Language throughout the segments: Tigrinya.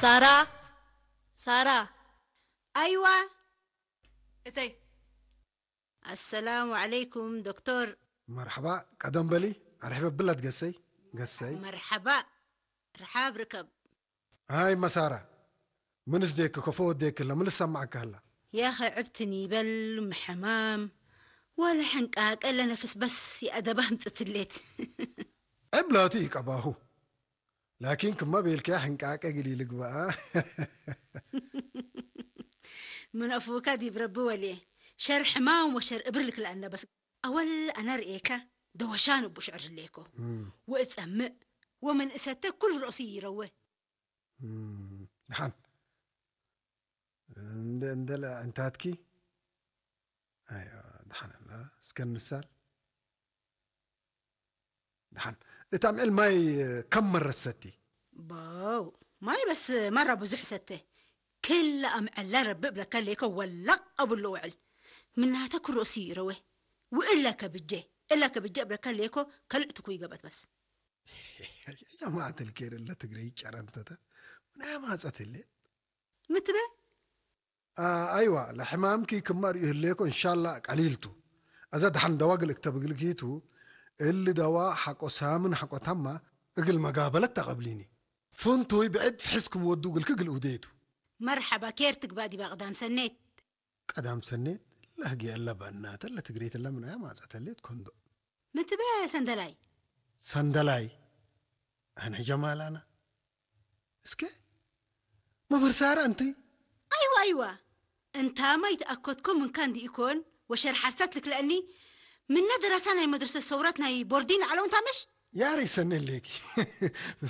ሳራ፣ ሳራ። ኣይዋ። እተይ። ኣሰላሙ ዓለይኩም ዶክተር። መርሓባ፣ ቀደም በሊ፣ ኣርሒበ ብላት ገሰይ፣ ገሰይ። መርሓባ፣ ርሓብ ርከብ። ሃይ መሳራ፣ ምንስ ዴክ ኮፎ ወዴክ ላ፣ ምንስ ሰማዕካ ላ? ያኸ ዕብትን ይበል፣ ምሕማም፣ ዋላ ሕንቃቀ ለነፍስ በስ የኣደባ ህምጽትሌት። ዕብላቱ ይቀባሁ። ላኪን ክማ ቤልከያ ሕንቃቀ ግሊ ልግበኣ። ምን ኣፉካ ዲብ ረቢ ወልየ፣ ሸር ሕማም ወሸር እብር ልክልኣና በስ። ኣወል ኣነ ርእየካ ደወሻን እቡ ሽዕር ህሌኮ። እም። ወእጸምእ ወመን እሰተ ኩል ርእሲ ይረወ። እም፣ ደሓን። እንደ፣ እንደለ ዕንታትኪ። ኣዮ፣ ደሓን ኣላ። እስከ ንሳል። ደሓን። እታ ምዕል ማይ ከም መረት ሰቲ። ባው፣ ማይ በስ ማራ ብዙሕ ሰተ። ክላ ኣምዕላ ረቢ እብለካ ሌኮ ወላቕ ኣብሎ ውዕል። ምናተ ክሮሲ ይረወ። ውእላ ከብጀ፣ እላ ከብጀ እብለካ ሌኮ ከልዕትኩ ይገበት በስ። ያ ማዕተል ከይደለ ትግረይ ጨረንተተ። ምናያ ማጸት ህሌት። ምትበ? ኣ፣ ኣይዋ፣ ለሕማምኪ ክማ ርእዩ ህሌኮ፣ እንሻላ ቀሊልቱ። ኣዛ ደሓን ደዋ ግል እክተብ እግልኪቱ፣ እሊ ደዋ ሓቆ ሳምን ሓቆ ታማ እግል መጋበለት ተቐብሊኒ። ፍንቱይ ብዕድ ፍሕስ ክምወዱ እግልኪ ግል እውደየቱ። መርሓባ፣ ኬር ትግባእ ዲባ ቀዳም ሰኔት? ቀዳም ሰኔት ለህጊ ኣለባ እናተ ለትግሬት ለምንያ ማጸተሌት ኮንዶ። ምትበ ሰንደላይ? ሰንደላይ? ኣነ ጀማላና። እስከ መምህር ሳራ እንቲ? ኣይዋ፣ ኣይዋ። እንታ ማይ ተኣከትኮ ምንካ እንዲ ኢኮን ወሸር ሓሳት ልክለአኒ ምነ ደረሳ ናይ መድረሰ ሰውራት ናይ ቦርዲን ዓለው እንታ ምሽ? ያሪ ሰኒ ሌኪ።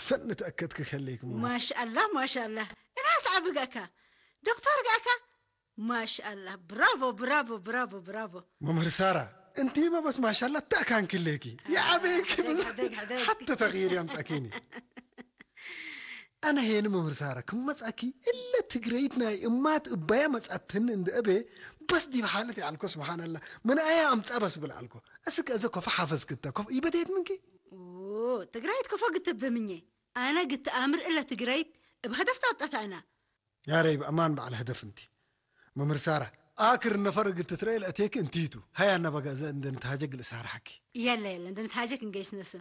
ሰኒ ተኣከትክ ከሌክ መምህር። ማሻአላ፣ ማሻአላ። እና ሰዓብ ጋካ ዶክተር ጋካ? ማሻአላ። ብራቮ፣ ብራቮ፣ ብራቮ፣ ብራቮ። መምህር ሳራ፣ እንቲ መበስ ማሻላ ተኣካንክሌኪ። የዓበይኪ። ሓደግ፣ ሓደግ፣ ሓደግ። ሓተ ተቕይር ያምጻኪኒ። ኣነ ሄኒ መምህር ሳራ ክመጻኪ እለ ትግረይት ናይ እማት እባያ መጻተኒ እንደ እቤ በስ ዲብ ሓለት ይዓልኮ ስብሓንላ። ምን ኣያ ኣምጻ በስ ብል ዓልኮ። እስከ እዘ ኮፈ ሓፈዝ ክተ ኮፍ ይበደየት ምንኪ? ኦ፣ ትግራይት ኮፈ ግትብ ብምኘ። ኣነ ግትኣምር እለ ትግራይት እብ ሀደፍ ጻውጣት ኣና። ያረይ ብኣማን በዓል ሀደፍ እንቲ። መምህር ሳራ፣ ኣክር ነፈር እግል ትትረኤ ለእቴክ እንቲቱ። ሃያ ነበጋ እዘ እንደ ንትሃጀግ ልእሳርሓኪ። የለ፣ የለ፣ እንደ ንትሃጀግ እንገይስ ነሱ።